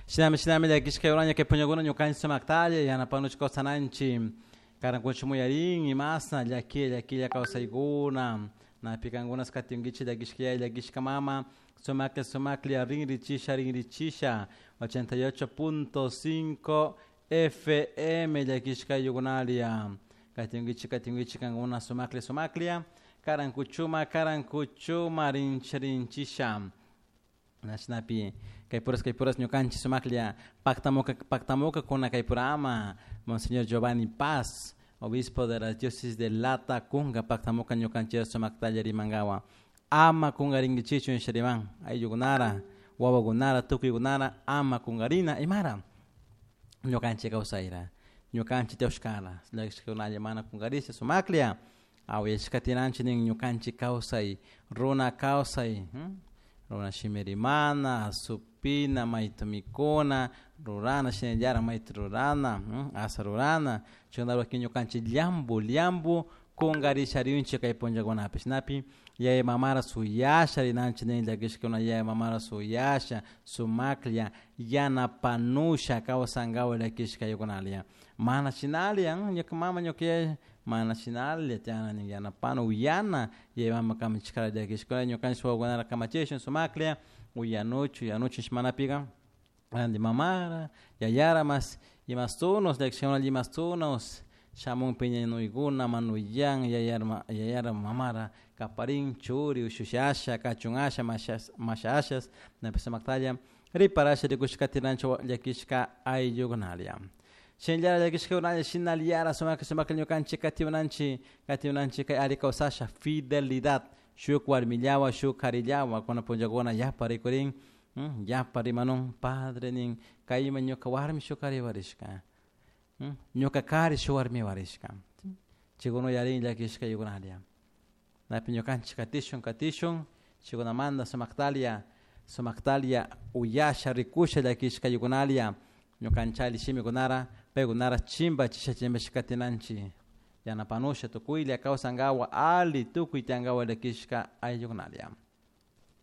Shinami shinami llakishka kay punllakuna ñukanchik sumaktalla yanapanuchik kawsananchik karankuchik muyarin imasna llakilla llakilla kawsaykuna napi kankunas katinkichik llakishka yaya llakishka mama sumaklla sumaklla rinrichisha rinrichisha 88.5 FM llakishka ayllukunalia katinkichik katinkichik kankuna sumaklla sumaklla karankuchuma karankuchuma rincha rinchisha Nashnapi kay puras ñukanchik sumaklla paktamuka paktamuka kuna kay purama Monseñor Giovanni Paz, obispo de la diócesis de Latacunga, paktamuka ñukanchik sumaktalla rimankawa ama kungarinkichichu nishariman ayllukunara wawakunara tukuykunara ama kungarina imara ñukanchik kawsayra ñukanchik tiyawshkara llakishkakunalla mana kungarisha sumaklla awayashkatinanchik nin ñukanchik kawsay runa kawsay runa shimi rimana supina mayta mikuna rurana shinallara mayta rurana asa rurana chaykunata ñukanchik llampu llampu kungarishariyunchik kay punllakunapi shinapi yaya mamara suyasha rinanchik nin llakishkakuna yaya mamara suyasha sumaklla yanapanusha kawsankawa llakishkaykunalla mana shinalla ñuka mama ñuka yaya mana shinalla tiyana nin yanapana uyana yaya mama kamachishkara llakishkuna ñukanchik wawakunara kamachishun sumaklla uyanuchu uyanuchu manapika ranti mamara yayara mas imastunos llakishkakuna imastunos shamun piñanuykuna manuyan yayara yayara mamara kaparin churi ushushi asha kachun asha masha ashas napi sumaktalla riparasha rikushka katinanchik llakishka ayllukunalla shinallara llakishkakunalla shinallara sumaklla sumaklla ñukanchik katiwananchik katiwananchik kay alli kawsasha fidelidad shuk warmillawan shuk karillawan kuna punllakuna yapa rikurin yapa rimanun padre nin kayman ñuka warmi shuk kari warishka ñuka kari shuk warmi warishka chaykuna uyarin llakishka ayllukunalla napi ñukanchik katishun katishun chaykunamanta sumaktalla sumaktalla uyasha rikusha llakishka ayllukunalla ñukanchik alli shimikunara paykunara chimbachisha chimbachishka katinanchik yanapanusha tukuylla kawsankawa alli tukuy tiyankawa llakishka ayllukunalla.